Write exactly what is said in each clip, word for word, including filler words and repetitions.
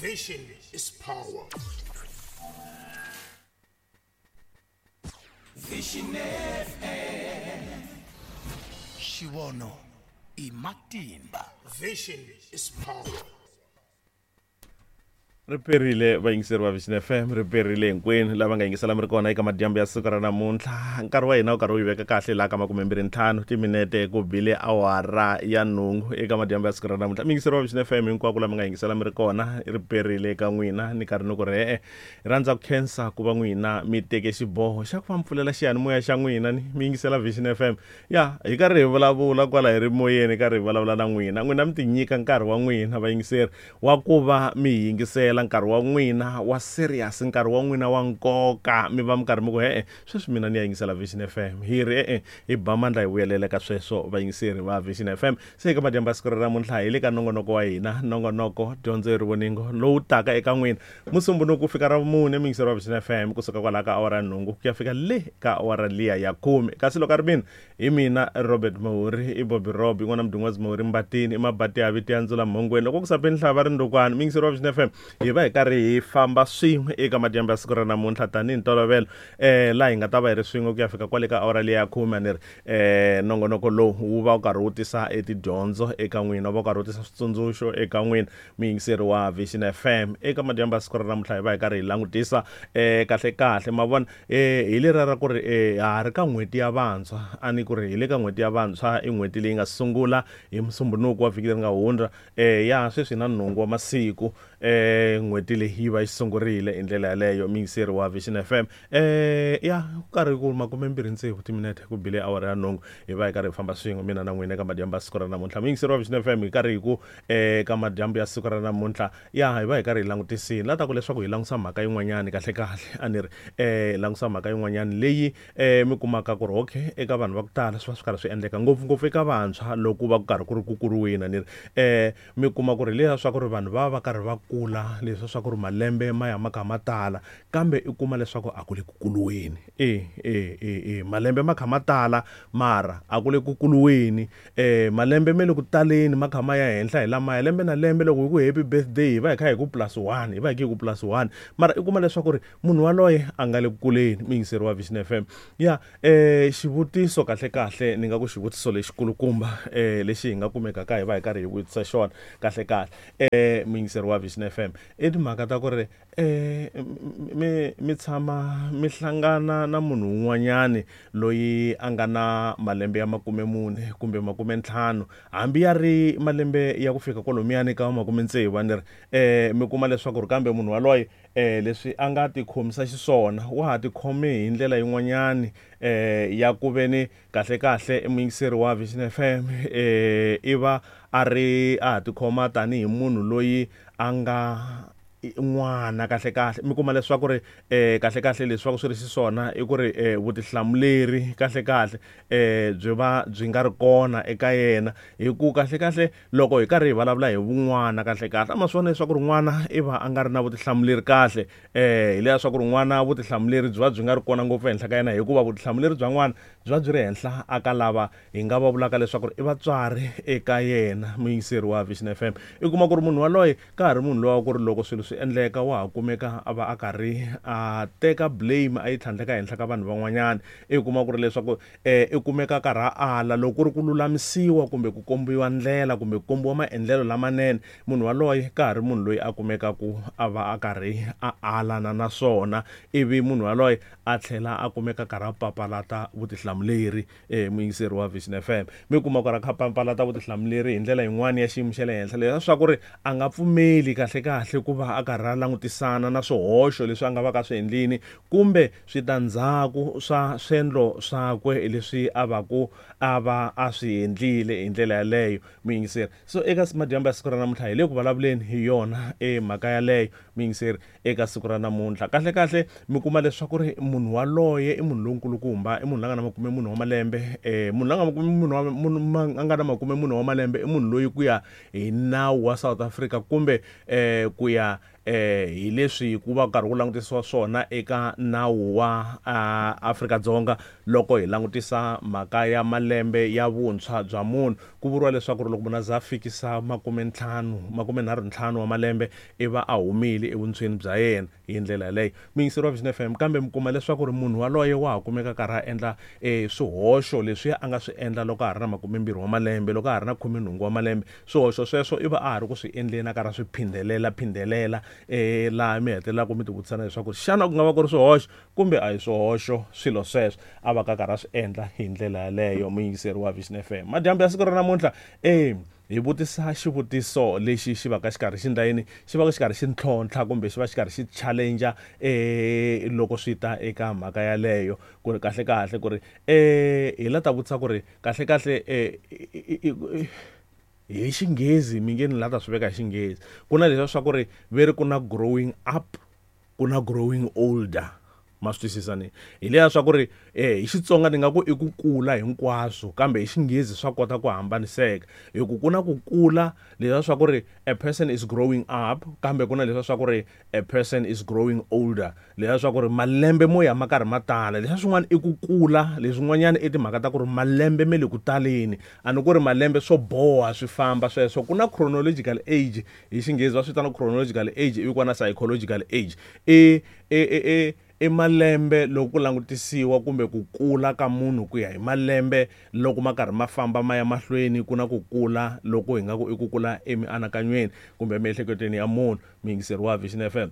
Vision is power. Vision F M. Xivono i matimba. Vision is power. Ri perile vayingiseri va Vision F M, ri perile hinkwenu lava nga yingisela mi ri kona eka madyambu ya siku ra namuntlha. Nkarhi wa hina wu karhi wu yi veka kahle laha ka makumembirhi ntlhanu timinete ku bile awara ya nhungu eka madyambu ya siku ra namuntlha. Muyingiseri wa Vision F M hinkwako lama nga yingisela mi ri kona, ri perile eka n'wina ni karhi ni ku ri e-e. Rhandza ku khensa ku va n'wina mi teke xiboho xa ku va mi pfulela xiyanimoya xa n'wina ni mi yingisela Vision F M. Ya hi karhi hi vulavula kwala hi ri moyeni, hi karhi hi vulavula na n'wina, n'wina mi tinyika nkarhi wa n'wina vayingiseri wa ku va mi yingisela nkarhi wa n'wina wa serious, nkarhi wa n'wina wa nkoka, mi va mi karhi mi ku e-e sweswi mina ni ya yingisela Vision F M. Hi ri e-e hi ba mandla hi vuyelela ka sweswo vayingiseri va Vision F M. Se eka madyambu ya siku ra namuntlha hi le ka nongonoko wa hina, nongonoko dyondzo hi rivoningo lowu taka eka n'wina Musumbhunuku ku fika ra vumune, muyingiseri wa Vision F M kusuka kwalaha ka awara ya nhungu ku ya fika le ka awara liya ya khume. Kasi loko a ri mina hi mina Robert Mahuri, i Bobby Rob, i n'wana Mdungwazi Mahuri Mbatini, i Mabati ya vito ya Ndzula Mhongweni. Loko ku sa peni nhlava ri ndukwana, muyingiseri wa Vision F M hi va hi karhi hi famba swin'we eka madyambu ya siku ra namuntlha tanihi ntolovelo, eh laha hi nga ta va hi ri swin'we ku ya fika kwale ka awara liya ya khume. Ni ri eh nongonoko lowu wu va wu karhi wu tisa etidyondzo eka n'wina, wu va wu karhi wu tisa switsundzuxo eka n'wina muyingiseri wa Vision F M. Eka madyambu ya siku ra namuntlha hi va hi karhi hi langutisa eh kahle kahle ma vona eh hi leriya ra ku ri eh ha ha ri ka n'hweti ya vantshwa, a ni ku ri hi le ka n'hweti ya vantshwa, i n'hweti leyi nga sungula hi Musumbhunuku wa vhiki leri nga hundza. Eh ya sweswi na nhungu wa masiku eh n'hweti leyi yi va yi sungurile hi ndlela yaleyo muyingiseri wa Vision F M. Eh ya ku karhi ku makumembirhi tsevu timinete ku bile awara ya nhungu, hi va hi karhi hi famba swin'we mina na n'wina eka madyambu ya siku ra namuntlha. Muyingiseri wa Vision F M hi karhi hi ku eh ka madyambu ya siku ra namuntlha ya hi va hi karhi hi langutisile la ta ku leswaku hi langusa mhaka yin'wanyani kahle kahle, a ni ri eh langusa mhaka yin'wanyani leyi eh mi kumaka ku ri okay eka vanhu va ku tala swi va swi karhi swi endleka ngopfungopfu eka vantshwa loko va ku karhi ku ri ku kuriweni, a ni ri eh mi kuma ku ri leswiya swa ku ri vanhu va va karhi va kula, leswiya swa ku ri malembe ma ya ma kha ma tala, kambe i kuma leswaku a ku le ku kuluweni. E e e e malembe ma kha ma tala mara a ku le ku kuluweni, eh malembe me le ku taleni ma kha ma ya henhla hi lamaya lembe na lembe. Loko hi ku happy birthday hi va hi kha hi ku plus one, hi va hi ku plus one, mara i kuma leswaku ri munhu waloye a nga le ku kuleni. Muyingiseri wa Vision F M, ya eh xivutiso kahle kahle ni nga ku xivutiso lexikulukumba eh lexi hi nga kumekaka hi va hi karhi hi vutisa xona kahle kahle eh muyingiseri wa Vision F M, i timhaka ta ku ri eh mi mi tshama mi hlangana na munhu un'wanyani loyi a nga na malembe ya makume mune kumbe makume ntlhanu, hambi ya ri malembe ya ku fika kwalomuyani ka makume tsevu, a ni ri eh mi kuma leswaku ri kambe munhu waloye eh leswi a nga tikhomisa xiswona wa ha tikhome hi ndlela yin'wanyani eh ya ku ve ni kahle kahle muyingiseri wa Vision F M eh i va a ri a ha tikhoma tanihi munhu loyi a nga n'wana kahle kahle. Mi kuma leswaku ri eh kahle kahle leswi va ku swi ri xiswona i ku ri eh vutihlamuleri kahle kahle eh byi va byi nga ri kona eka yena, hi ku kahle kahle loko hi karhi hi vulavula hi vun'wana kahle kahle a ma swi vona leswaku ri n'wana i va a nga ri na vutihlamuleri kahle, eh hi leswaku ri n'wana vutihlamuleri byi va byi nga ri kona ngopfu ehenhla ka yena, hikuva vutihlamuleri bya n'wana byi va byi ri henhla aka lava hi nga va vulaka leswaku ri i vatswari eka yena. Muyingiseri wa Vision F M, i kuma ku ri munhu waloye ka ha ri munhu lowa ku ri loko swilo swi endleka wa ha kumeka a va a karhi a teka blame a yi tlhandleka henhla ka vanhu van'wanyana. I kuma ku ri leswaku eh i kumeka a karhi a ala loko ku ri ku lulamisiwa kumbe ku kombiwa ndlela kumbe ku kombiwa maendlelo lamanene, munhu waloye ka ha ri munhu loyi a kumekaku a va a karhi a alana na swona, ivi munhu waloye a tlhela a kumeka karhi a papalata vutihlamuleri. Eh muyingiseri wa Vision F M, mi kuma ku ri a kha papalata vutihlamuleri hi ndlela yin'wani ya xiyimo xa le henhla, leswaku ri a nga pfumeli kahle kahle ku va a karhi a langutisana na swihoxo leswi a nga va ka swi endlini kumbe switandzhaku swa swendlo swakwe leswi a va ku a va a swi endlile hi ndlela yaleyo. Muyingiseri, so eka madyambu ya siku ra namuntlha hi le ku vulavuleni hi yona e mhaka yaleyo. Muyingiseri, eka siku ra namuntlha kahle kahle mi kuma leswaku ri munhu waloye i munhu lonkulukumba, i munhu la nga na makume mune wa malembe, eh munhu la nga makume mune wa munhu a nga na makume mune wa malembe i munhu loyi ku ya hi nawu wa South Africa kumbe eh ku ya eh hi leswi ku va karhi ku langutisiwa swona eka nawu wa Afrika-Dzonga loko hi langutisa mhaka ya malembe ya vuntshwa bya munhu. Ku vuriwa leswaku loko munhu a za a fikisa makume ntlhanu makume nharhu ntlhanu wa malembe i va a humile evuntshweni bya yena hi ndlela yaleyo. Muyingiseri wa Vision F M, kambe mi kuma leswaku ri munhu waloye wa ha kumeka karhi a endla e swihoxo leswiya a nga swi endla loko a ha ri na makumembirhi wa malembe, loko a ha ri na khumenhungu wa malembe. Swihoxo sweswo i va a ha ri ku swi endleni a karhi a swi phindelela phindelela eh laha mi hetelelaka mi tivutisana leswaku xana ku nga va ku ri swihoxo kumbe a hi swihoxo swilo sweswo a va ka karhi a swi endla hi ndlela yaleyo. Muyingiseri wa Vision F M, madyambu ya siku ra namuntlha eh hi vutisa xivutiso lexi xi va ka xikarhi xi ndla yini, xi va ka xikarhi xi ntlhontlha kumbe xi va xikarhi xi challenge eh loko swi ta eka mhaka yaleyo ku ri kahle kahle ku ri eh hi la ta vutisa ku ri kahle kahle eh hi xinghezi mi nge ni la ta swi veka hi xinghezi ku na leswi swa ku ri ve ri ku na growing up ku na growing older. Ma swi twisisa ni hi leya swa ku ri eh hi Xitsonga ni nga ku i ku kula hinkwaswo kambe hi xinghezi swa kota ku hambaniseka hi ku ku na ku kula leswi swa ku ri a person is growing up kambe ku na leswi swa ku ri a person is growing older, leswi swa ku ri malembe mo ya ma karhi ma tala. Leswi swin'wana i ku kula, leswin'wanyana i timhaka ta ku ri malembe me le ku taleni, a ni ku ri malembe swo boha swi famba sweswo. Ku na chronological age hi xinghezi va swi vitana chronological age ivi ku va na psychological age. E e e i malembe loko ku langutisiwa kumbe ku kula ka munhu ku ya hi malembe loko ma karhi ma famba ma ya mahlweni, ku na ku kula loko hi nga ku i ku kula emianakanyweni kumbe emiehleketweni ya munhu. Muyingiseri wa Vision F M,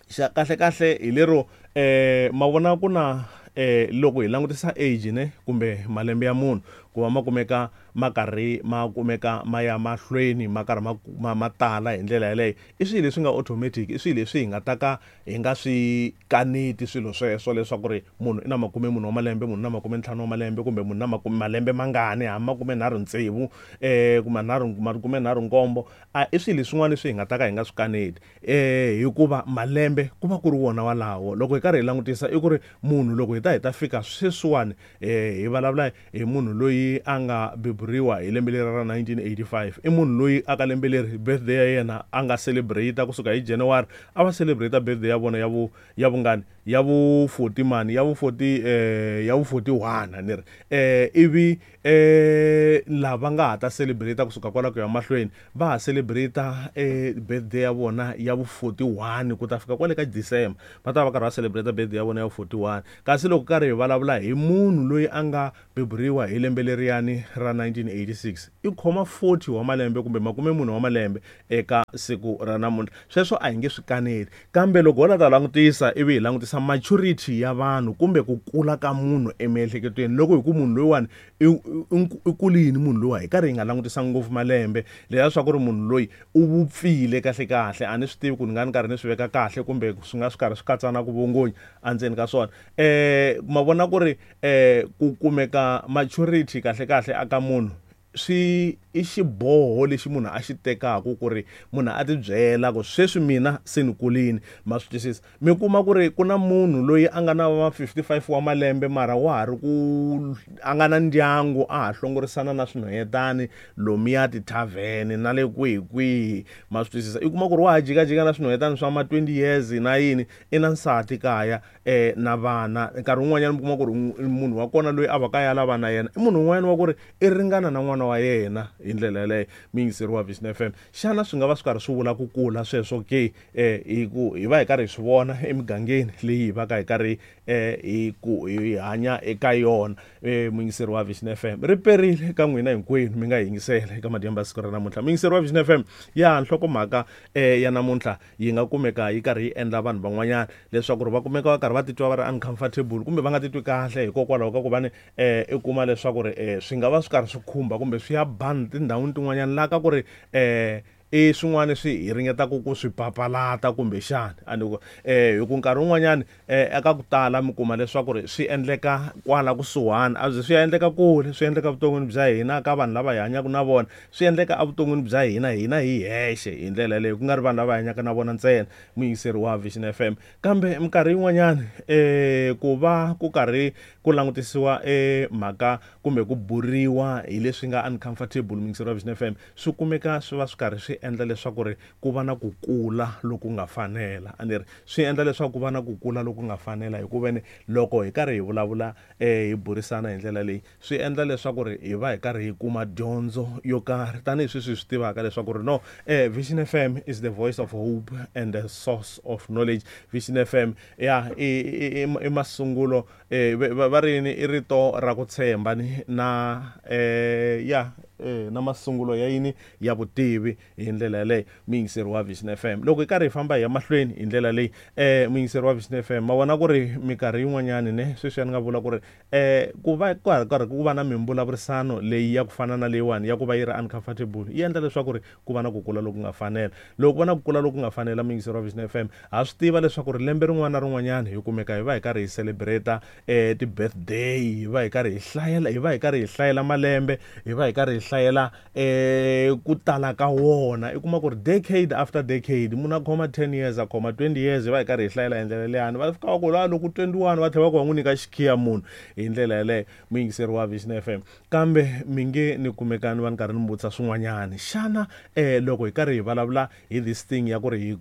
xa kahle kahle hi lero eh ma vona ku na eh loko hi langutisa age ne kumbe malembe ya munhu ku va ma kumeka ma karhi ma kumeka ma ya mahlweni ma karhi ma ma tala hi ndlela yaleyo, i swilo leswi nga automatic, i swilo leswi hi nga ta ka hi nga swi kaneti swilo sweswo leswaku ri munhu i na makume mune wa malembe, munhu na makume ntlhanu wa malembe kumbe munhu na makume malembe mangani hambi makume nharhu tsevu eh kumbe nharhu makume nharhu nkombo, a i swilo leswin'wana leswi hi nga ta ka hi nga swi kaneti eh hikuva malembe ku va ku ri wona walawo. Loko hi karhi hi langutisa i ku ri munhu loko hi ta hi ta fika sweswiwani eh hi vulavula hi munhu loyi a nga beburiwa hi lembe leri ra nineteen eighty-five, i munhu loyi a ka lembe leri birthday ya yena a nga celebrate kusuka hi January a va celebrate birthday ya vona ya vu ya vungani ya vu forty mani ya vu forty eh ya vu forty-one ni ri eh ivi eh lava nga ha ta celebrate kusuka kwala ku ya mahlweni va ha celebrate eh birthday ya vona ya vu forty-one ku ta fika kwale ka December va ta va karhi va celebrate birthday ya vona ya vu forty-one. Kasi loko karhi hi vulavula hi munhu loyi a nga beburiwa hi lembe leriyani ra nineteen eighty-six i khoma forty wa malembe kumbe makume mune wa malembe eka siku ra namuntlha, sweswo a hi nge swi kaneli. Kambe loko ho la ta langutisa ivi hi langutisa maturity ya vanhu kumbe ku kula ka munhu emiehleketweni, loko hi ku munhu loyiwani i kulini munhu loyiwa hi karhi hi nga langutisa ngopfu malembe leswiya swa ku ri munhu loyi u vupfile kahle kahle, a ni swi tivi ku ni nga ni karhi ni swi veka kahle kumbe swi nga swi karhi swi katsana ku vongonya endzeni ka swona. Eh ma vona ku ri eh ku kumeka maturity kahle kahle aka munhu swi i xiboho lexi munhu a xi tekaka ku ri munhu a tibyela ku sweswi mina se ni kulini. Ma swi twisisa? Mi kuma ku ri ku na munhu loyi a nga na va fifty-five wa malembe mara wa ha ri ku a nga na ndyangu a ha hlongorisana na swinhwanyetani lomuya tithavheni na le kwihi kwihi. Ma swi twisisa? I kuma ku ri wa ha jikajika na swinhwanyetani swa ma twenty years na yini, i na nsati kaya eh na vana. Nkarhi wun'wanyana mi kuma ku ri munhu wa kona loyi a va ka ya lava na yena i munhu un'wanyana wa ku ri i ringana na n'wana wa yena hi ndlela yaleyo. Muyingiseri wa Vision F M, xana swi nga va swi karhi swi vula ku kula sweswo ke? Eh hi ku hi va hi karhi hi swi vona emigangeni leyi hi va ka hi karhi eh hi ku hi hanya eka yona. Eh muyingiseri wa Vision F M, ri perile ka n'wina hinkwenu mi nga yingisela eka madyambu ya siku ra namuntlha. Muyingiseri wa Vision F M, ya nhlokomhaka eh ya namuntlha yi nga kumeka yi karhi yi endla vanhu van'wanyana leswaku ri va kumeka va karhi va titwa va ri uncomfortable kumbe va nga titwi kahle hikokwalaho ka ku va ni eh i kuma leswaku ri eh swi nga va swi karhi swi khumba kumbe swi ya ban tindhawini tin'wanyana laha ka ku ri eh i swin'wana swi hi ringetaka ku swi papalata kumbe xana a ni ku eh hi ku nkarhi wun'wanyana eh eka ku tala mi kuma leswaku ri swi endleka kwala kusuhani, a swi endleka kule, swi endleka vuton'wini bya hina ka vanhu lava hi hanyaka na vona, swi endleka evuton'wini bya hina hina hi hexe hi ndlela yaleyo, ku nga ri vanhu lava hi hanyaka na vona ntsena. Muyingiseri wa Vision F M, kambe minkarhi yin'wanyana eh ku va ku karhi ku langutisiwa eh mhaka kumbe ku buriwa hi leswi nga uncomfortable, muyingiseri wa Vision F M, swi kumeka swi va swi karhi swi endla leswaku ri ku va na ku kula loku nga fanela. A ni ri swi endla leswaku ku va na ku kula loku nga fanela hikuva ni loko hi karhi hi vulavula eh hi burisana hi ndlela leyi swi endla leswaku ri hi va hi karhi hi kuma dyondzo yo karhi tanihi sweswi hi swi tivaka leswaku ri no eh Vision F M is the voice of hope and the source of knowledge. Vision F M ya i i masungulo eh va ri yini i rito ra ku tshemba ni na eh ya eh na masungulo ya yini ya vutivi hi ndlela yaleyo muyingiseri wa Vision F M. Loko hi karhi hi famba hi ya mahlweni hi ndlela leyi eh muyingiseri wa Vision F M ma vona ku ri minkarhi yin'wanyani ne sweswi ya ni nga vula ku ri eh ku va ku karhi ku va na mimbulavurisano leyi ya ku fana na leyiwani ya ku va yi ri uncomfortable yi endla leswaku ri ku va na ku kula loku nga fanela. Loko ku va na ku kula loku nga fanela muyingiseri wa Vision F M ha swi tiva leswaku ri lembe rin'wana na rin'wanyana hi kumeka hi va hi karhi hi celebrate eh ti-birthday, hi va hi karhi hi hlayela hi va hi karhi hi hlayela malembe, hi va hi karhi hi hlayela eh ku tala ka wona. I kuma ku ri decade after decade munhu a khoma ten years a khoma twenty years hi va hi karhi hi hlayela hi ndlela leyani va fika va ku la loko twenty-one va tlhela va ku va n'wi nyika xikhiya munhu hi ndlela yaleyo muyingiseri wa Vision F M. Kambe mi nge ni kumekani va ni karhi ni vutisa swin'wanyani xana eh loko hi karhi hi vulavula hi this thing ya ku ri hi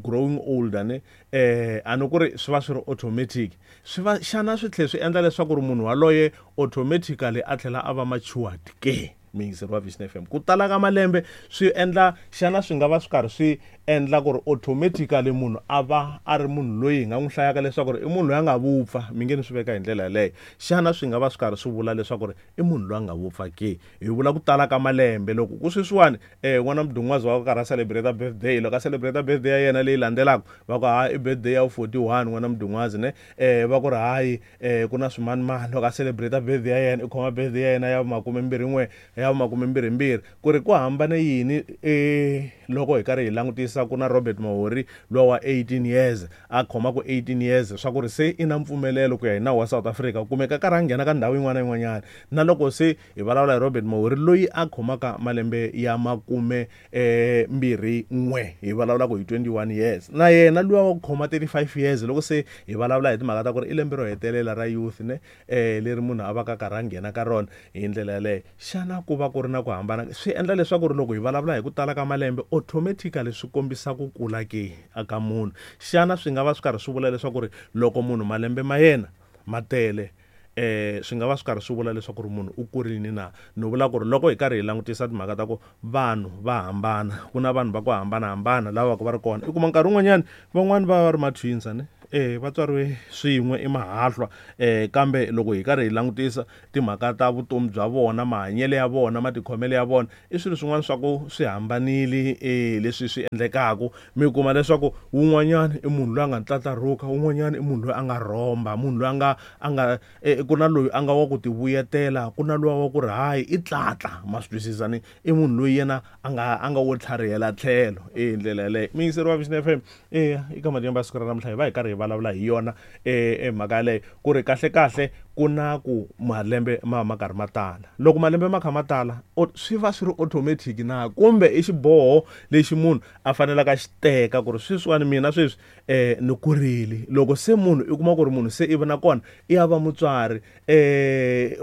growing older ne eh a ni ku ri swi va swi ri automatic swi va xana swi tlhela swi endla leswaku ri munhu waloye automatically a tlhela a va matured ke muyingiseri wa Vision F M? Ku tala ka malembe swi endla xana swi nga va swi karhi swi endla ku ri automatically munhu a va a ri munhu loyi hi nga n'wi hlayaka leswaku ri i munhu loyi a nga vupfa mi nge ni swi veka hi ndlela yaleyo xana swi nga va swi karhi swi vula leswaku ri i munhu loyi a nga vupfa ke? Hi vula ku tala ka malembe loko ku sweswiwani eh n'wana mudun'wazi wa karhi a celebrate birthday loko a celebrate birthday ya yena leyi landzelaka va ku hayi i birthday ya forty-one n'wana mudun'wazi ne eh va ku ri hayi eh ku na swimanimani loko a celebrate birthday ya yena i khoma birthday ya yena ya makume mbirhi n'we ya makume mbirhi mbirhi ku ri ku hambane yini eh loko hi karhi hi langutisa ku na Robert Mahori lowa wa eighteen years a khoma ku eighteen years swa ku ri se i na mpfumelelo ku ya hi nawu wa South Africa kumeka karhi a nghena ka ndhawu yin'wana na yin'wanyana na loko se hi vulavula hi Robert Mahori loyi a khomaka malembe ya makume eh mbirhi n'we hi vulavula ku hi twenty-one years na yena luwa wa ku khoma thirty-five years loko se hi vulavula hi timhaka ta ku ri i lembe ro hetelela ra youth ne eh leri munhu a va ka karhi a nghena ka rona hi ndlela yaleyo xana ku va ku ri na ku hambana swi endla leswaku ri loko hi vulavula hi ku tala ka malembe automatically swi kombisa ku kula ke aka munhu xana swi nga va swi karhi swi vula leswaku ri loko munhu malembe ma yena ma tele eh swi nga va swi karhi swi vula leswaku ri munhu u kurini na? Ni vula ku ri loko hi karhi hi langutisa timhaka ta ku vanhu va hambana ku na vanhu va ku hambanahambana lava va ku va ri kona i kuma nkarhi wun'wanyani van'wani va va ri ma-twins ne eh va tswariwe swin'we i mahahlwa eh kambe loko hi karhi hi langutisa timhaka ta vutomi bya vona mahanyelo ya vona matikhomelo ya vona i swilo swin'wana swa ku swi hambanile eh leswi swi endlekaku mi kuma leswaku wun'wanyana i munhu loyi a nga ntlatlarhuka wun'wanyana i munhu loyi a nga rhomba munhu loyi a nga a nga eh, ku na loyi a nga wa ku tivuyetela ku na luwa wa ku ri hayi i tlatla ma swi twisisa ni i munhu loyi yena a nga a nga wo tlharihela tlhelo eh ndlela yaleyo muyingiseri wa Vision F M eh eka madyambu ya siku ra namuntlha hi va hi karhi hi vulavula hi yona eh mhaka yaleyo ku ri kahle kahle ku na ku malembe ma ma karhi ma tala loko malembe ma kha ma tala swi va swi ri automatic na kumbe i xiboho lexi munhu a fanelaka xi teka ku ri sweswiwani mina sweswi eh ni kurile loko se munhu i kuma ku ri munhu se i va na kona i ya va mutswari eh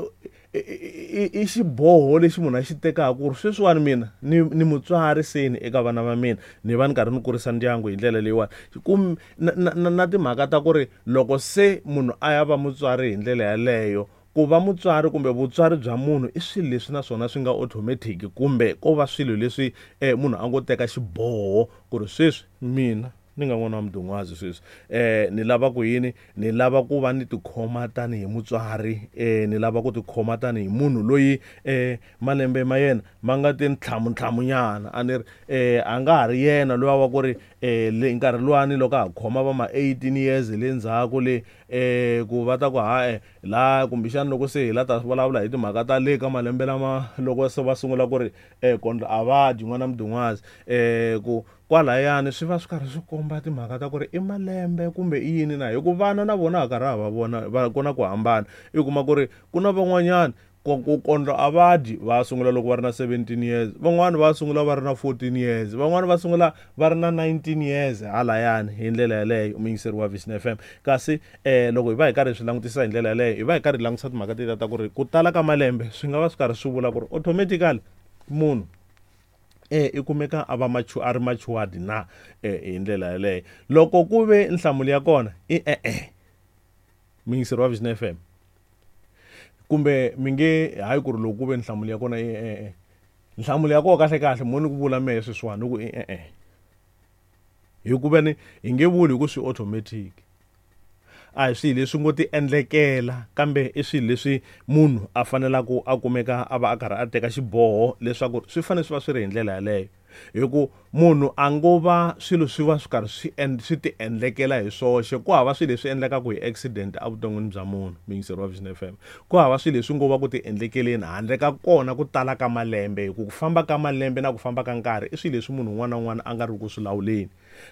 i xiboho lexi munhu a xi tekaka ku ri sweswiwani mina ni ni mutswari seni eka vana va mina ni va ni karhi ni kurisa ndyangu hi ndlela leyiwani kumbe na, na, na timhaka ta ku ri loko se munhu a ya va mutswari hi ndlela yaleyo ku va mutswari kumbe vutswari bya munhu i swilo leswi naswona swi nga automatic kumbe ko va swilo leswi eh, munhu a ngo teka xiboho ku ri sweswi mina ni nga n'wana wa mudun'wazi sweswi eh ni lava ku yini ni lava ku va ni tikhoma tanihi mutswari eh ni lava ku tikhoma tanihi munhu loyi eh malembe ma yena ma nga ti ntlhamu ntlhamunyana a ni ri eh a nga ha ri yena loyi wa ku ri eh le nkarhi luwani loko a ha khoma va ma eighteen years le ndzhaku le eh ku va ta ku ha la kumbexana loko se hi la ta vulavula hi timhaka ta le ka malembe lama loko se va sungula ku ri eh kondlo a va dyi n'wana mudun'wazi eh ku kwalayani swi va swi karhi swi komba timhaka ta ku ri i malembe kumbe i yini na hi ku vana na vona ha karhi ha va vona va ku na ku hambana i kuma ku ri ku na van'wanyana ku kondlo a va dyi va sungula loko va ri na seventeen years van'wani va sungula va ri na fourteen years van'wani va sungula va ri na nineteen years halayani hi ndlela yaleyo muyingiseri wa Vision F M kasi eh loko hi va hi karhi hi swi langutisa hi ndlela yaleyo hi va hi karhi hi langutisa timhaka tetiya ta ku ri ku tala ka malembe swi nga va swi karhi swi vula ku ri automatically munhu eh i kumeka a va machu a ri matured na eh hi ndlela yaleyo. Loko ku ve nhlamulo ya kona i e-e, muyingiseri wa Vision F M, kumbe mi nge hayi ku ri loko ku ve nhlamulo ya kona i e-e, nhlamulo ya kona kahle kahle mo ni ku vula mehe sweswiwani ni ku i e-e, hikuva ni hi nge vuli hi ku swi automatic, a hi swilo leswi ngo ti endlekela, kambe i swilo leswi munhu a fanelaka a kumeka a va a karhi a teka xiboho leswaku swi fanele swi va swi ri hi ndlela yaleyo. Hi ku munhu a ngo va swilo swi va swi karhi swi swi ti endlekela hi swoxe, ku hava swilo leswi endlekaka hi accident evuton'wini bya munhu, muyingiseri wa Vision F M. Ku hava swilo leswi ngo va ku ti endlekeleni handle ka kona ku tala ka malembe, hi ku ku famba ka malembe na ku famba ka nkarhi i swilo leswi munhu un'wana na un'wana a nga ri ku swi lawuleni.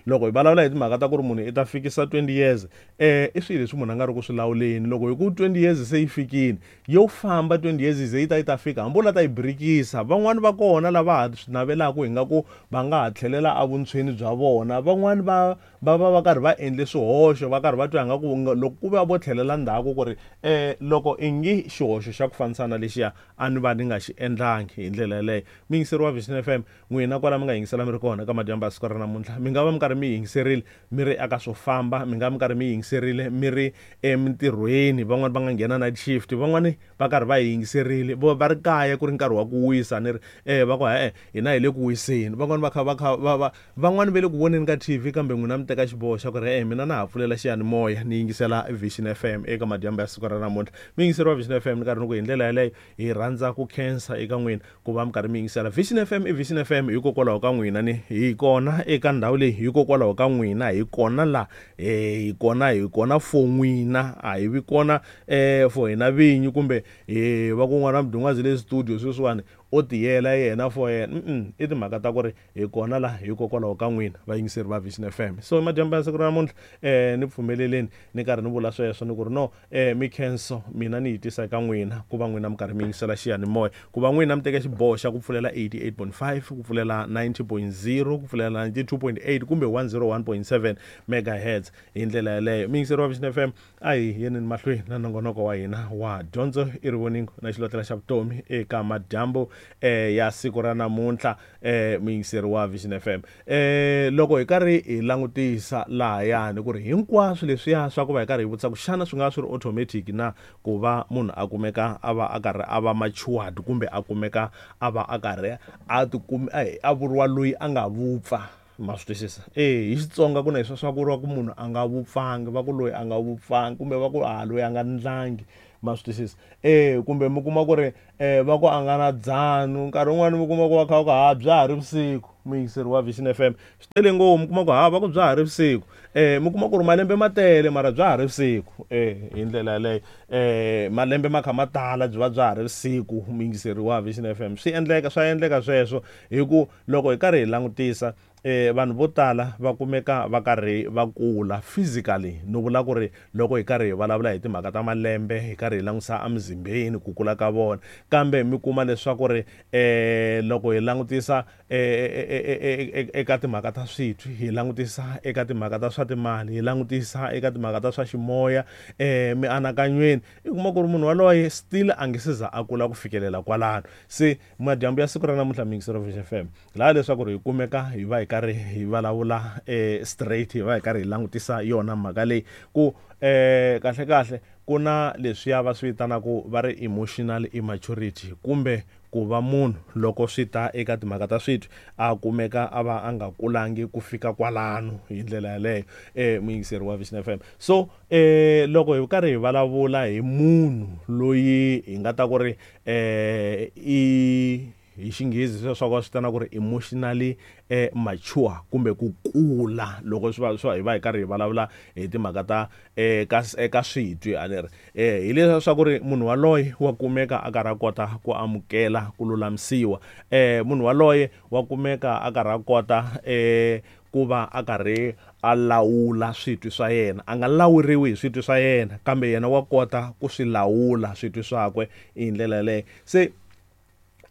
Loko hi vulavula hi timhaka ta ku ri munhu i ta fikisa twenty years, eh i swilo leswi munhu a nga ri ku swi lawuleni. Loko hi ku twenty years se yi fikile, yo famba twenty years ze yi ta yi ta fika, hambi u la ta yi birikisa, van'wani va kona lava ha swi navelaka hi nga ku va nga ha tlhelela evuntshweni bya vona, van'wani va va va va karhi va endle swihoxo, va karhi va twa nga ku loko ku va vo tlhelela ndzhaku ku ri eh loko i ngi xihoxo xa ku fanisana lexiya a ni va ni nga xi endlangi hi ndlela yaleyo. Muyingiseri wa Vision F M, n'wina kwala mi nga yingisela mi ri kona ka madyambu ya siku ra namuntlha, mi nga va mi karhi mi yingiserile mi ri eka swo famba, mi nga mi karhi mi yingiserile mi ri emintirhweni, van'wani va nga nghena night shift, van'wani va karhi va yingiserile vo va ri kaya ku ri nkarhi wa ku wisa, ni ri eh va ku e hina hi le ku wiseni, van'wani va kha va kha va va van'wani va le ku voneni ka T V, kambe n'wina mi teka xiboho xa ku ri eh mina na ha pfulela xiyanimoya ni yingisela Vision F M eka madyambu ya siku ra namuntlha. Muyingiseri wa Vision F M, ni karhi ni ku hi ndlela yaleyo hi rhandza ku khensa eka n'wina ku va mi karhi mi yingisela Vision F M. I Vision F M hikokwalaho ka n'wina, ni hi kona eka ndhawu leyi hikokwalaho ka n'wina, hi kona la eh hi kona hi kona for n'wina, a hi vi kona eh for hina vinyi kumbe eh va ku n'wana Mdungwazi le studio sweswiwani o tiyela yena for yena. Mm i timhaka ta ku ri hi kona la hikokwalaho ka n'wina vayingiseri va Vision F M. So madyambu ya siku ra namuntlha eh ni pfumeleleni ni karhi ni vula sweswo ni ku ri no eh mikhenso mina ni yi tisa eka n'wina ku va n'wina mi karhi mi yingisela xiyanimoya, ku va n'wina mi teka xiboho xa ku pfulela eighty-eight point five, ku pfulela ninety point zero, ku pfulela ninety-two point eight kumbe one zero one point seven megahertz hi ndlela yaleyo. Muyingiseri wa Vision F M, a hi yeneni mahlweni na nongonoko wa hina wa dyondzo i rivoningo na xilotlela xa vutomi eka madyambu eh ya siku ra namuntlha, eh muyingiseri wa Vision F M. Eh loko hi karhi hi langutisa lahayani ku ri hinkwaswo leswiya swa ku va hi karhi hi vutisa ku xana swi nga swi ri automatic na ku va munhu a kumeka a va a karhi a va matured kumbe a kumeka a va a karhi a tikumi a vuriwa loyi a nga vupfa, ma swi twisisa? Eh hi Xitsonga ku na leswi swa ku vuriwa ku munhu a nga vupfangi, va ku loyi a nga vupfangi kumbe va ku a loyi a nga ndlangi, ma swi twisisa? Eh kumbe mi kuma ku ri eh va ku a nga na dzanu, nkarhi wun'wani mi kuma ku va kha va ku ha bya ha ri vusiku, muyingiseri wa Vision F M. Swi tele ngopfu, mi kuma ku ha va ku bya ha ri vusiku, eh mi kuma ku ri malembe ma tele mara bya ha ri vusiku, eh hi ndlela yaleyo eh malembe ma kha ma tala byi va bya ha ri vusiku, muyingiseri wa Vision F M. Swi endleka swa endleka sweswo hi ku loko hi karhi hi langutisa eh vanhu vo tala va kumeka va karhi va kula physically, no vula ku ri loko hi karhi hi vulavula hi timhaka ta malembe hi karhi hi langutisa emizimbeni ku kula ka vona, kambe mi kuma leswaku ri eh loko hi langutisa eka timhaka ta switwi, hi langutisa eka timhaka ta swa timali, hi langutisa eka timhaka ta swa ximoya, eh mianakanyweni, i kuma ku ri munhu waloye still a nge se za a kula ku fikelela kwalano. Se madyambu ya siku ra namuntlha muyingiseri wa Vision F M, laha leswaku ri hi kumeka hi va hi karhi hi vulavula eh straight, hi va hi karhi hi langutisa yona mhaka leyi ku eh kahle kahle ku na leswiya va swi vitanaka va ri emotional immaturity, kumbe ku va munhu loko swi ta eka timhaka ta switwi a kumeka a va a nga kulangi ku fika kwalano hi ndlela yaleyo, eh muyingiseri wa Vision F M. So eh loko hi karhi hi vulavula hi munhu loyi hi nga ta ku ri eh i hi Xinghezi sweswo va swi vitana ku ri emotionally eh mature kumbe ku kula, loko swi va swi hi va hi karhi hi vulavula hi timhaka ta eh ka eka switwi a ni ri eh hi leswi ku ri munhu waloye wa kumeka a karhi a kota ku amukela ku lulamisiwa, eh munhu waloye wa kumeka a karhi a kota eh ku va a karhi a lawula switwi swa yena, a nga lawuriwi hi switwi swa yena kambe yena wa kota ku swi lawula switwi swakwe hi ndlela yaleyo. Se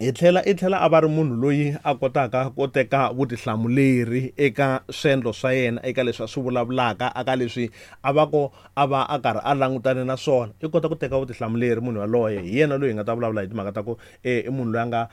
Hi tlhela i tlhela a va ri munhu loyi a kotaka ku teka vutihlamuleri eka swendlo swa yena, eka leswi a swi vulavulaka, eka leswi a va ko a va a karhi a langutane na swona. I kota ku teka vutihlamuleri munhu yaloye. Hi yena loyi hi nga ta vulavula hi timhaka ta ku i munhu loyi a nga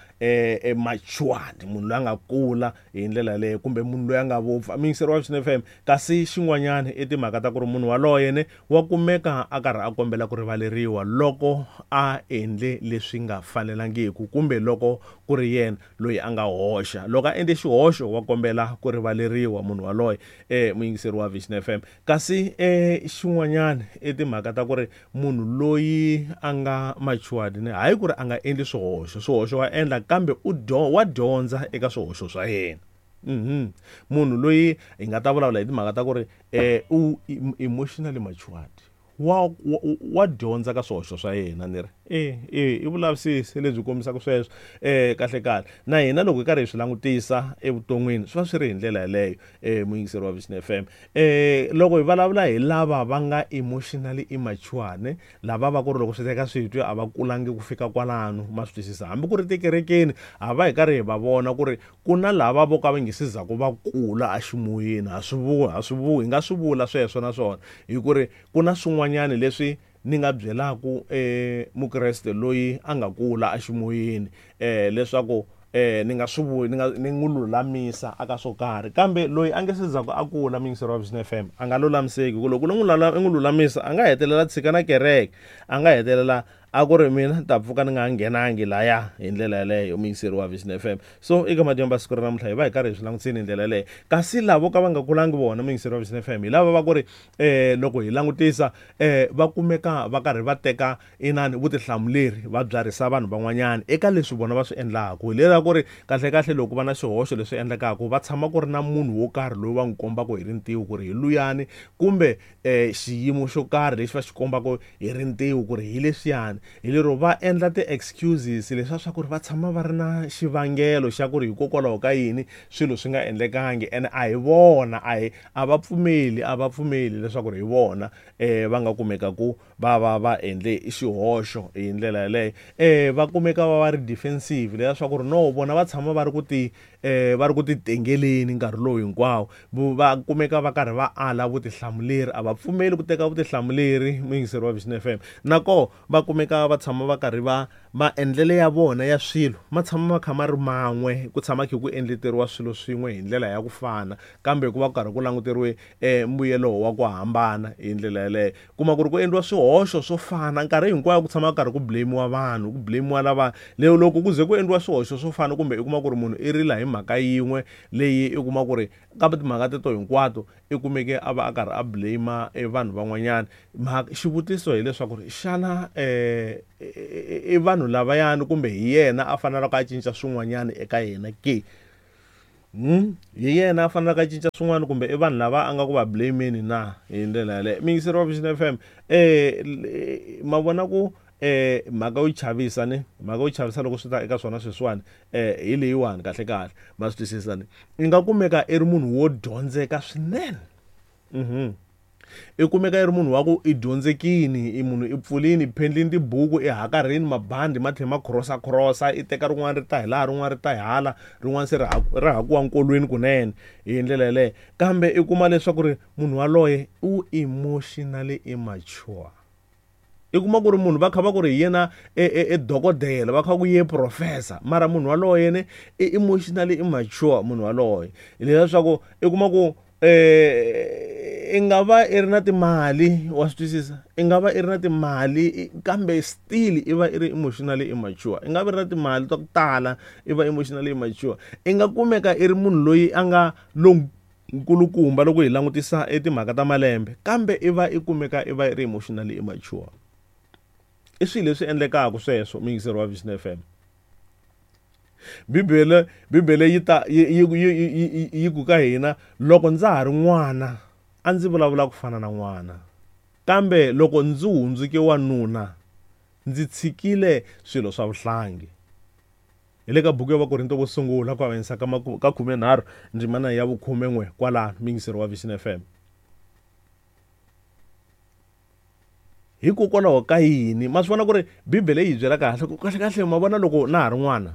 matured, munhu loyi a nga kula hi ndlela yaleyo, kumbe munhu loyi a nga vupfa. Muyingiseri wa Vision F M, kasi xin'wanyana i timhaka ta ku ri munhu yaloye ne wa kumeka a karhi a kombela ku rivaleriwa loko a endle leswi nga fanelangiku, kumbe loko ku ri yena loyi a nga hoxa. Loko a endle xihoxo wa kombela ku rivaleriwa munhu waloye, eh muyingiseri wa Vision F M. Kasi eh xin'wanyana i timhaka ta ku ri munhu loyi a nga matured ne, hayi ku ri a nga endli swihoxo, swihoxo wa endla, kambe u wa dyondza eka swihoxo swa yena. Mhm. Munhu loyi hi nga ta vulavula hi timhaka ta ku ri eh u emotionally matured, wa wa dyondza ka swihoxo swa yena. Ni ri eh eh i vulavisisi lebyi kombisaka sweswo eh kahle kahle. Na hina loko hi karhi hi swi langutisa evuton'wini swi va swi ri hi ndlela yaleyo, eh muyingiseri wa Vision F M. Eh loko hi vulavula hi lava va nga emotionally immature ne, lava va ku ri loko swi teka switwi a va kulangi ku fika kwalano, ma swi twisisa. Hambi ku ri tikerekeni a va hi karhi hi va vona ku ri ku na lava vo ka va nge se za ku va kula eximoyeni. Ha swi vula, ha swi vula, hi nga swi vula sweswo naswona hi ku ri ku na swin'wanyana leswi ni nga byelaku eh mukreste loyi a nga kula eximoyeni eh leswaku eh ni nga swi vuli, ni nga ni n'wi lulamisa aka swo karhi, kambe loyi a nge se za ku a kula, muyingiseri wa Vision F M, a nga lulamiseki. Ku loko u n'wi n'wi lulamisa a nga hetelela tshika na kereke, a nga hetelela a ku ri mina ni ta pfuka ni nga nghenangi laya hi ndlela yaleyo, muyingiseri wa Vision F M. So eka madyambu ya siku ra namuntlha hi va hi karhi hi swi langutiseni hi ndlela yaleyo. Kasi lavo ka va nga kulangi vona, muyingiseri wa Vision F M, hi lava va ku ri eh loko hi langutisa eh va kumeka va karhi va teka inani vutihlamuleri, va byarhisa vanhu van'wanyana eka leswi vona va swi endlaka. Hi lera ku ri kahle kahle loko va na xihoxo leswi endlekaka, va tshama ku ri na munhu wo karhi loyi va n'wi kombaka hi rintiho ku ri hi luyani, kumbe eh xiyimo xo karhi lexi va xi kombaka hi rintiho ku ri hi leswiyani. Hi lero va endla ti-excuses leswiya swa ku ri va tshama va ri na xivangelo xa ku ri hikokwalaho ka yini swilo swi nga endlekangi, ene a hi vona, a hi a va pfumeli, a va pfumeli leswaku ri hi vona eh va nga kumeka ku va va va endle xihoxo hi ndlela yaleyo. Eh va kumeka va va ri defensive, leswiya swa ku ri no vona va tshama va ri ku ti eh va ri ku ti tengeleni nkarhi lowu hinkwawo, va kumeka va karhi va ala vutihlamuleri, a va pfumeli ku teka vutihlamuleri, muyingiseri wa Vision F M. Nako va kumeka va tshama va karhi va maendlele ya vona ya swilo ma tshama ma kha ma ri man'we, ku tshama kha ku endleteriwa swilo swin'we hi ndlela ya ku fana, kambe ku va ku karhi ku languteriwe eh mbuyelo wa ku hambana hi ndlela yaleyo. Kuma ku ri ku endliwa swihoxo swo fana nkarhi hinkwayo, ku tshama ku karhi ku blame-iwa vanhu, ku blame-iwa lava leyo. Loko ku ze ku endliwa swihoxo swo fana, kumbe i kuma ku ri munhu i rila hi mhaka yin'we leyi i kuma ku ri kambe timhaka teto hinkwato i kumeke a va a karhi a blame e vanhu van'wanyana. Xivutiso hileswaku ri xana eh i vanhu lavayani kumbe hi yena a fanelaka a cinca swin'wanyana eka yena ke? Hmm? Hi yena a fanelaka a cinca swin'wana kumbe i vanhu lava a nga ku va blame-ni na hi ndlela yaleyo? Muyingiseri wa Vision F M, eh ma vona ku eh mhaka yo chavisa ne, mhaka yo chavisa loko swi ta eka swona sweswiwani eh hi leyiwani kahle kahle, ma swi twisisa ne. I nga kumeka i ri munhu wo dyondzeka swinene. Mhm. I kumeka i ri munhu wa ku i dyondzekini, i munhu i pfulini, i phendlini tibuku, i hakarhini mabandi ma tlhela ma crossa crossa, i teka rin'wana ri ta hi laha, rin'wana ri ta hi hala, rin'wana se ri ri hakiwa nkolweni kunene hi ndlela yaleyo. Kambe i kuma leswaku ri munhu waloye u emotionally immature. I kuma ku ri munhu va kha va ku ri hi yena e dokodela, va kha ku ye professor, mara munhu waloye ne i emotionally immature munhu waloye. Leswaku i kuma ku eh i nga va i ri na timali, wa swi twisisa, i nga va i ri na timali kambe still i va i ri emotionally immature. I nga va i ri na timali ta ku tala, i va emotionally immature. I nga kumeka i ri munhu loyi a nga lonkulukumba loko hi langutisa etimhaka ta malembe, kambe i va i kumeka i va i ri emotionally immature. I swilo leswi endlekaka sweswo, muyingiseri wa Vision F M. Bibele Bibele yi ta yi yi yi ku ka hina, loko ndza ha ri n'wana a ndzi vulavula ku fana na n'wana, kambe loko ndzi hundzuke wanuna ndzi tshikile swilo swa vuhlangi. Hi le ka buku ya Vakorinto vo sungula ku avanyisa ka ka khumenharhu ndzimana ya vukhumen'we kwalano, muyingiseri wa Vision F M. Hikokwalaho ka yini? Ma swi vona ku ri Bibele yi hi byela kahle ku kahle kahle, ma vona loko na ha ri n'wana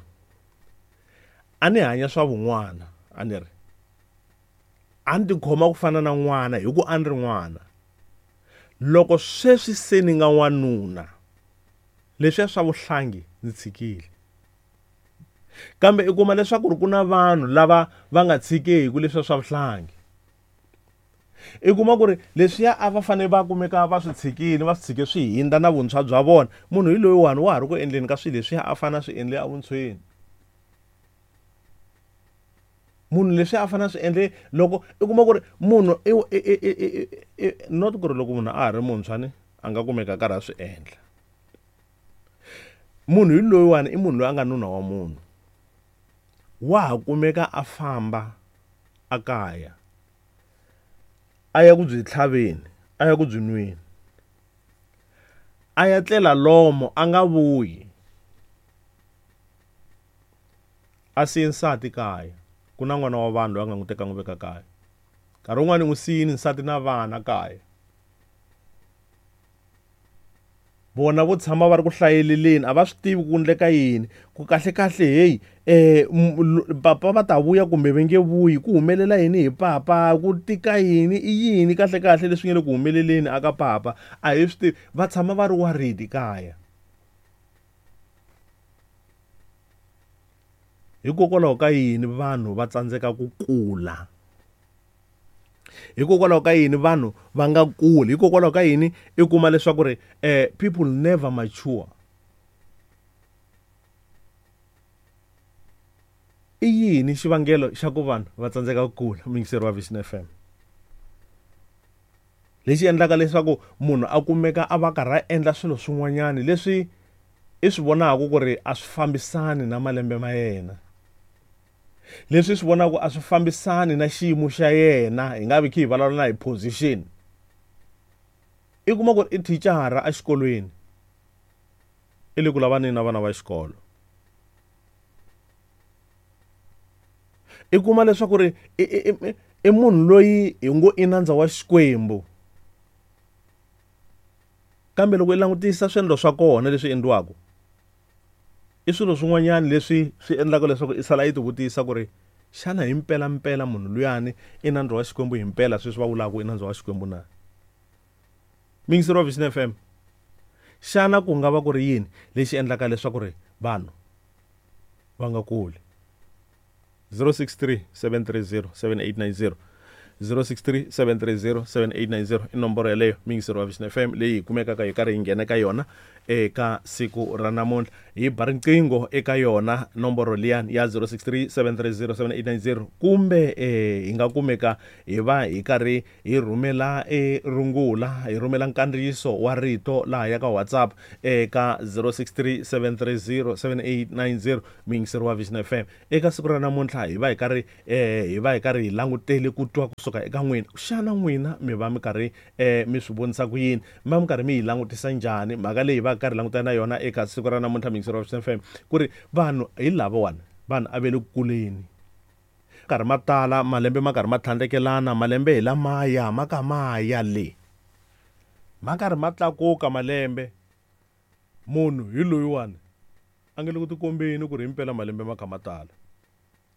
A ni hanya swa vun'wana, a ni ri a ni tikhoma ku fana na n'wana hi ku a ni ri n'wana. Loko sweswi se ni nga n'wanuna, leswiya swa vuhlangi ndzi tshikile. Kambe i kuma leswaku ri ku na vanhu lava va nga tshikeki leswiya swa vuhlangi. I kuma ku ri leswiya a va fanele va kumeka va swi tshikile, va swi tshike swi hindza na vuntshwa bya vona, munhu hi loyiwani wa ha ri ku endleni ka swilo leswiya a fanele a swi endle evuntshweni. Munhu leswi a fanele a swi endle loko i kuma ku ri munhu i i not ku ri loko munhu a ha ri muntshwa ni a nga kumeka a karhi a swi endla. Munhu hi loyiwani i munhu loyi a nga nuna wa munhu, wa ha kumeka a famba a kaya a ya ku byi tlhaveni, a ya ku byi nweni, a ya tlela lomo a nga vuyi, a siye nsati kaya. Ku na n'wana wa vanhu loyi a nga n'wi teka n'wi veka kaya. Nkarhi wun'wani n'wi siyini nsati na vana kaya. Vona vo tshama va ri ku hlayeleleni, a va swi tivi ku endleka yini, ku kahle kahle hey eh papa va ta vuya kumbe va nge vuyi, ku humelela yini hi papa, ku tika yini, i yini kahle kahle leswi nge le ku humeleleni aka papa, a hi swi tivi. Va tshama va ri worried kaya. Hikokwalaho ka yini vanhu va tsandzeka ku kula? Hikokwalaho ka yini vanhu va nga kuli? Hikokwalaho ka yini i kuma leswaku ri eh people never mature? I yini xivangelo xa ku vanhu va tsandzeka ku kula? Muyingiseri wa Vision F M. Lexi endlaka leswaku munhu a kumeka a va karhi a endla swilo swin'wanyana leswi i swi vonaka ku ri a swi fambisani na malembe ma yena, leswi swi vonaka a swi fambisani na xiyimo xa yena, hi nga vi khe hi vulavula na hi position. I kuma ku ri i thicara exikolweni, i le ku lavaneni na vana va xikolo. I kuma leswaku ri i munhu loyi hi ngo i nandza wa Xikwembu, kambe loko i langutisa swiendlo swa kona leswi endliwaka, i swilo swin'wanyana leswi swi endlaka leswaku i sala yi tivutisa ku ri xana hi mpela mpela munhu luyani i nandza wa Xikwembu hi mpela sweswi va vulaka i nandza wa Xikwembu na? Muyingiseri wa Vision F M, xana ku nga va ku ri yini lexi endlaka leswaku ri vanhu va nga kuli? zero six three seven three zero seven eight nine zero, zero six three seven three zero seven eight nine zero i nomboro yeleyo muyingiseri wa Vision F M leyi hi kumekaka hi karhi hi nghena ka yona eka siku ra namuntlha. Hi ba riqingho eka yona nomboro liyani ya zero six three seven three zero seven eight nine zero, kumbe eh hi nga kumeka hi va hi karhi hi rhumela e rungula, hi rhumela nkandziyiso wa rito laha ya ka WhatsApp eka zero six three seven three zero seven eight nine zero. Muyingiseri wa Vision F M, eka siku ra namuntlha hi va hi karhi eh hi va hi karhi hi langutele ku twa kusuka eka n'wina. Xana n'wina mi va mi karhi eh mi swi vonisa ku yini? Mi va mi karhi mi yi langutisa njhani mhaka leyi va karhi langutana na yona eka siku ra namuntlha? Muyingiseri wa Vision F M, ku ri vanhu hi lavawani vanhu a ve le ku kuleni, karhi ma tala malembe ma karhi ma tlhandlekelana, malembe hi lamaya ma ka maya le ma karhi ma tlakuka malembe, munhu hi loyiwani a nge le ku tikombeni ku ri himpela malembe ma kha ma tala.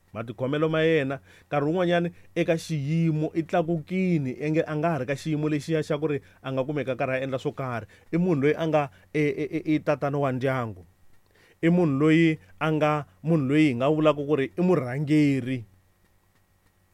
Matikhomelo ma yena nkarhi wun'wanyani eka xiyimo i tlakukini, enge a nga ha ri ka xiyimo lexiya xa ku ri a nga kumeka karhi a endla swo karhi. I munhu loyi a nga i tatana wa ndyangu, i munhu loyi a nga munhu loyi hi nga vulaka ku ri i murhangeri.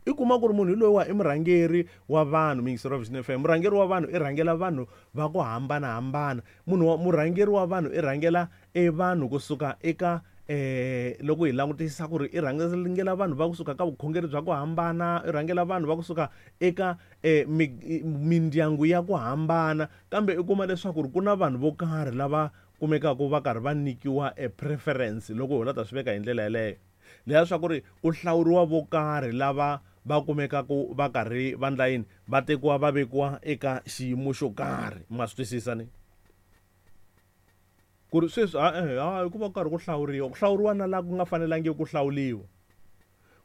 I kuma ku ri munhu loyi wa i murhangeri wa vanhu. Muyingiseri wa Vision F M, murhangeri wa vanhu i rhangela vanhu va ku hambanahambana. Munhu wa murhangeri wa vanhu i rhangela e vanhu kusuka eka eh loko hi langutisa ku ri i rhangela vanhu va kusuka ka vukhongeri bya ku hambana, i rhangela vanhu va kusuka eka eh mindyangu ya ku hambana. Kambe i kuma leswaku ri ku na vanhu vo karhi lava kumekaka va karhi va nyikiwa e preference, loko hi la ta swi veka hi ndlela yeleyo, leya swa ku ri ku hlawuriwa vo karhi lava va kumekaka va karhi va ndla yini, va tekiwa va vekiwa eka xiyimo xo karhi. Ma swi twisisa ni ku ri sweswi ha ku va ku karhi ku hlawuriwa, ku hlawuriwa na laha ku nga fanelangiki ku hlawuriwa,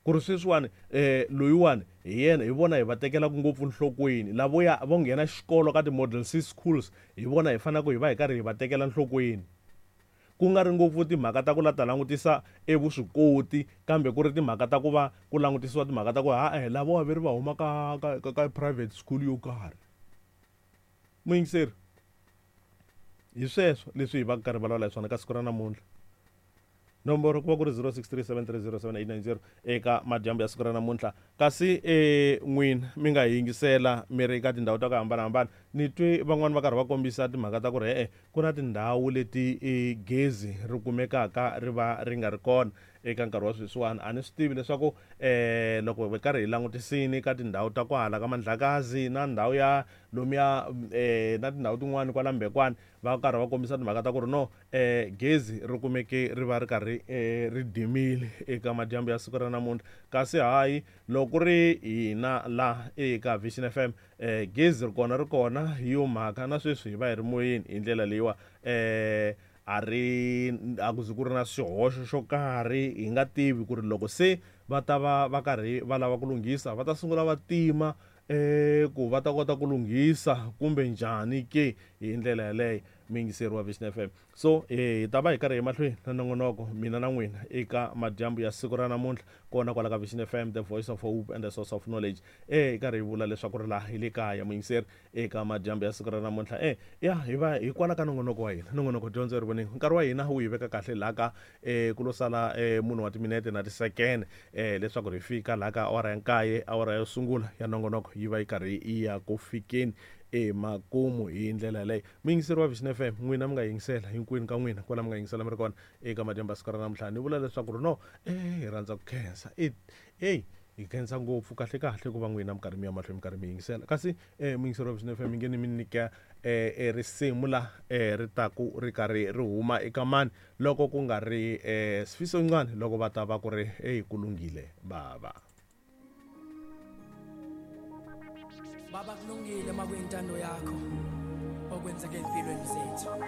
ku ri sweswiwani eh loyiwani hi yena hi vona hi va tekelaka ngopfu nhlokweni, lavoya vo nghena xikolo ka ti-model C schools hi vona hi faneleke hi va hi karhi hi va tekela nhlokweni. ku nga ri ngopfu timhaka ta ku la ta langutisa evuswikoti kambe ku ri timhaka ta ku va ku langutisiwa timhaka ta ku ha eh lava va ri va huma ka ka ka private school yo karhi. Muyingiseri, hi sweswo leswi hi va karhi vulavula hi swona ka siku ra namuntlha. Nomboro ku va ku ri zero six three seven three zero seven eight nine zero eka madyambu ya siku ra namuntlha. Kasi eh n'wina mi nga yingisela mi ri ka tindhawu ta ku hambanahambana, ni twe van'wani va karhi va kombisa timhaka ta ku ri e-e ku na tindhawu leti e gezi ri kumekaka ri va ri nga ri kona eka nkarhi wa sweswiwani. A ni swi tivi leswaku eh loko hi karhi hi langutisini ka tindhawu ta kwahala ka Mandlakazi na ndhawu ya lomuya eh na tindhawu tin'wani kwala Mbekwana, va karhi va kombisa timhaka ta ku ri no eh gezi ri kumeke ri va ri karhi eh ri dimile eka madyambu ya siku ra namuntlha. Kasi hayi loko ri hina la eka Vision F M eh gezi ri kona ri kona hi yo mhaka na sweswi hi va hi ri moyeni hi ndlela leyiwa eh a ri a ku zi ku ri na xihoxo xo karhi. Hi nga tivi ku ri loko se va ta va va karhi va lava ku lunghisa va ta sungula va tima eh ku va ta kota ku lunghisa kumbe njhani ke hi ndlela yaleyo. Muyingiseri wa Vision F M, so eh hi ta va hi karhi hi mahlweni na nongonoko mina na n'wina eka madyambu ya siku ra namuntlha kona kwala ka Vision F M, the voice of hope and the source of knowledge. Eh hi karhi hi vula leswaku ri laha hi le kaya muyingiseri eka madyambu ya siku ra namuntlha. Eh ya hi va hi kwala ka nongonoko wa hina, nongonoko dyondzo ri voneni. Nkarhi wa hina wu hi veka kahle laha ka eh ku lo sala eh munhu wa timinete na tisekene eh leswaku ri fika laha ka awara ya nkaye, awara yo sungula ya nongonoko yi va yi karhi yi ya ku fikeni emakumu hi ndlela leyi. Muyingiseri wa Vision F M, n'wina mi nga yingisela hinkwenu ka n'wina kwala mi nga yingisela mi ri kona eka madyambu ya siku ra namuntlha. Ni vula leswaku ri no eh hi rhandza ku khensa e hey hi khensa ngopfu kahle kahle ku va n'wina mi karhi mi ya mahlweni mi karhi mi yingisela. Kasi eh muyingiseri wa Vision F M mi nge ni mi nyika eh risimu la eh ri taku ri karhi ri huma eka mani loko ku nga ri eh Sifiso Ncwane loko va ta va ku ri hey ku lunghile baba. Baba kulungile makuyintando yakho okwenzeke empilweni zethu.